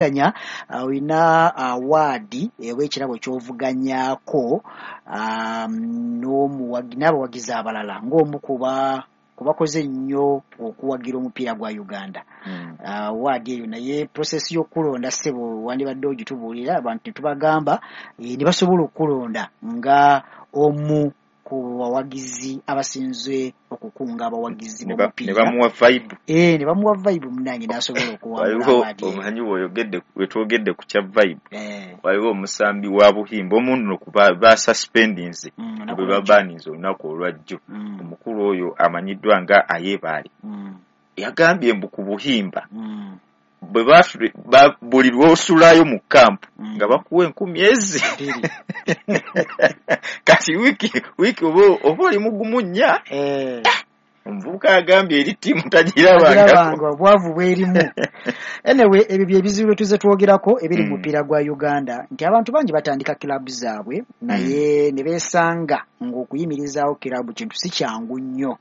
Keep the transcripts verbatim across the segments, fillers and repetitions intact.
Olina award oba ekirabo ky'ovuganyaako n'abawagizi abalala ng'omu ku bakoze ennyo okuwagira omupiira gwa Uganda. Award eyo, naye process y'okulonda, ssebo, wandibadde ogitubuulira abantu ne tubagamba ne basobola okulonda nga omu ku bawagizi abasinze okukunga abawagizi b'omupiira. Ne bamuwa vibe. Eh, ne bamuwa vibe, munnange, n'asobola okuwangula award. Omanyi bw'oyogedde, wetwogedde ku kya vibe, waliwo omusambi wa Buhimba omu nno basuspendinze, bwe babaninze olunaku olwajjo. Omukulu oyo amanyiddwa nga Ayebaale yagambye mbu ku Buhimba bwe buli lw'osulayo mu kampu nga bakuwa enkumi ezi. Kati wiiki wiiki oba oli mugumu nnya. Omuvubuka agambye eri ttiimu tagirabanga. Obwavu bwerimu. Anyway, ebyo bye bizibu bye tuze twogerako ebiri mu mupiira gwa Uganda, nti abantu bangi batandika kilabu zaabwe naye ne beesanga ng'okuyimirizaawo kilabu kintu si kyangu nnyo.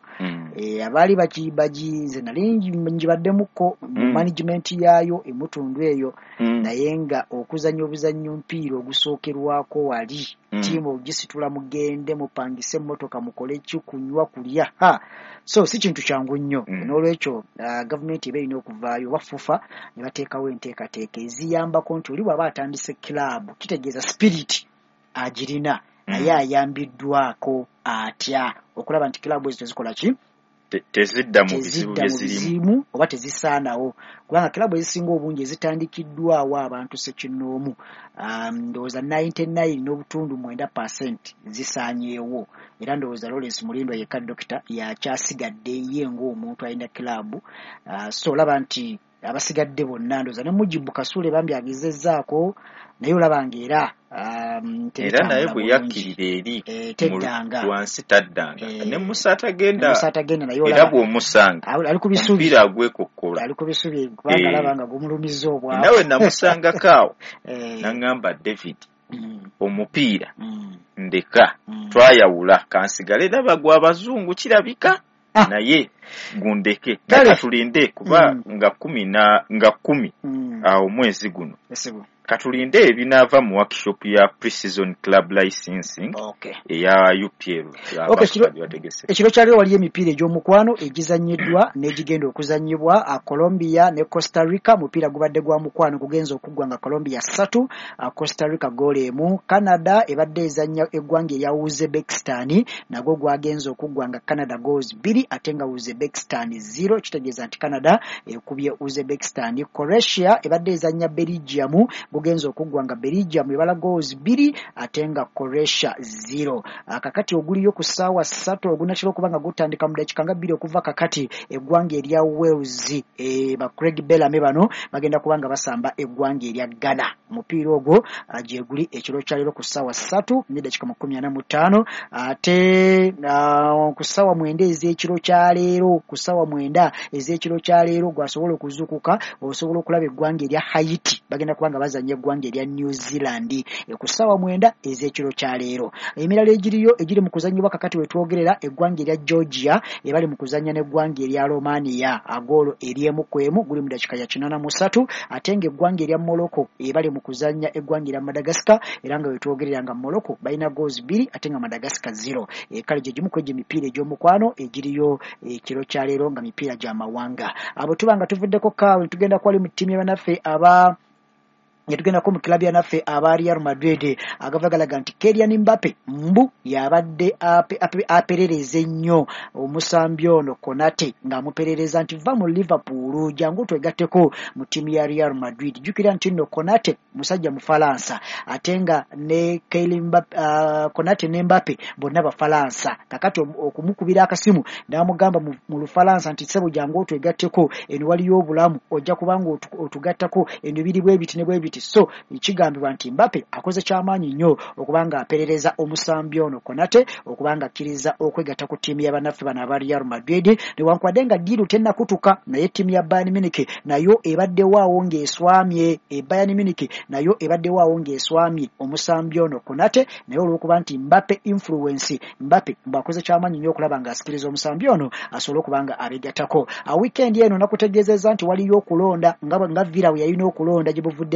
Abaali baginze, nali ngibaddemukko mu management yaayo emutundu eyo, naye nga okuzannya obuzannyo mpiira ogusookerwako wali, ttiimu ogisitula, mugende mupangise emmotoka, mukole ki, kunywa, kulya, ha, so si kintu kyangu nnyo. N'olwekyo gavumenti eba erina okuvaayo oba FUFA ne bateekawo enteekateeka eziyambako nti oli bw'aba atandise kilaabu, kitegeeza spirit agirina, naye ayambiddwako atya okulaba nti kilaabu ezo tezikola ki? Tezidda mu bizibu byezirimu oba tezisaanawo, kubanga kilaabu ezisinga obungi ezitandikiddwawo abantu ssekinnoomu, ndowooza ninety-nine n'obutundu mwenda percent zisaanyeewo. Era ndowooza Lawrence Mulindwa yekka dokita yakyasigadde ye ng'omuntu alina kilaabu. So olaba nti abasigadde bonna, ndowooza ne Mujibu Kasule bambi agezezzaako, naye olaba ng'era era naye bwe yakkirira eri teddanga wansi, taddanga. Ne Musa atagenda. Musa atagenda naye. Era bw'omusanga ali ku bisubi, omupiira agwekokkola. Ali ku bisubi kubanga alaba nga gumulumiza obwavu. Nawe namusangako awo naŋŋamba, "David, omupiira ndeka, twayawula, kansigale ndaba gwa abazungu kirabika, naye gundeke." Katulinde kuba nga kumi na nga kumi awo mwezi guno, katulinde ebinaava mu workshop ya pre-season club licensing eya U P L. Ekiro kyaliwo waliyo emipiira egy'omukwano egizannyiddwa n'egigenda okuzannyibwa. Colombia ne Costa Rica, mupiira gubadde gwa mukwano, gugenza okuggwa nga Colombia ssatu, Costa Rica goolo emu. Canada ebadde ezannya eggwanga erya Uzbekistan, nagwo gwagenza okuggwa nga Canada goals bbiri ate nga Uzbekistan zero, kitegeeza nti Canada ekubye Uzbekistan. Croatia ebadde ezannya Belgium, gugenza okuggwa nga Belgium ebala goals bbiri ate nga Croatia zero. Kakati oguliyo ku ssaawa ssatu, ogunatera okuba nga gutandika mu dakiika nga bbiri okuva kakati, eggwanga erya Wales, e, ba Craig Bellamy bano bagenda kuba nga basamba eggwanga erya Ghana. Omupiira ogwo gyeguli ekiro kyaleero ku ssaawa ssatu n'eddakiika makumi ana mu ttaano. Ate ku ssaawa mwenda ez'ekiro kyaleero, ku ssaawa mwenda ez'ekiro kyaleero, gwasobola okuzuukuka osobola okulaba eggwanga erya Haiti bagenda kuba nga bazannya eggwanga erya New Zealand ku ssaawa mwenda ez'ekiro kyaleero. Emirala egiriyo egiri mu kuzannyibwa kakati wetwogerera, eggwanga erya Georgia ebali mu kuzannya n'eggwanga erya Romania, agoolo eryemu ku emu, guli mu dakiika ya kinaana mu ssatu. Ate ng'eggwanga erya Morocco ebali mu kuzannya eggwanga erya Madagascar, era nga wetwogerera nga Morocco balina goals bbiri ate nga Madagascar zero. Kale gye gimu ku egyo emipiira egy'omukwano egiriyo ekiro kyaleero nga mipiira gy'amawanga. Abo tuba nga tuvuddeko kaawe, tugenda kwali mu ttiimu y'abannaffe aba netugendako mu kilabu yanaffe aba Real Madrid. Agava galaga nti Kylian Mbappe mbu yabadde aperereza ennyo omusambi ono Konate, ng'amuperereza nti va mu Liverpool, jangu twegatteko mu ttiimu ya Real Madrid. Jjukira nti nno Konate musajja Mufalansa, ate nga ne Kylian Mbappe, uh, Konate ne Mbappe bonna Bafalansa. Kakati okumukubira akasimu n'amugamba mu Lufalansa nti ssebo, jangu otwegatteko, eno waliyo obulamu, ojja kubanga otugattako, eno biri bwe biti ne bwe biti. So kigambibwa nti Mbappe akoze kyamaanyi nnyo okubanga aperereza omusambi ono Konate okubanga akkiriza okwegatta ku ttiimu y'abannaffe bano aba Real Madrid, newankubadde nga deal tennakutuka. Naye ttiimu ya Bayern Munich nayo ebaddewaawo ng'eswamye. E Bayern Munich nayo ebaddewo awo ng'eswamye omusambi ono Konate, naye olw'okuba nti Mbappe influence, Mbappe mbw'akoze kyamaanyi nnyo okulaba ng'asikiriza omusambi ono asobole okuba nga abegattako. Weekend eno nakutegeezezza nti waliyo okulonda nga nga Villa we yalina okulonda gye buvudde.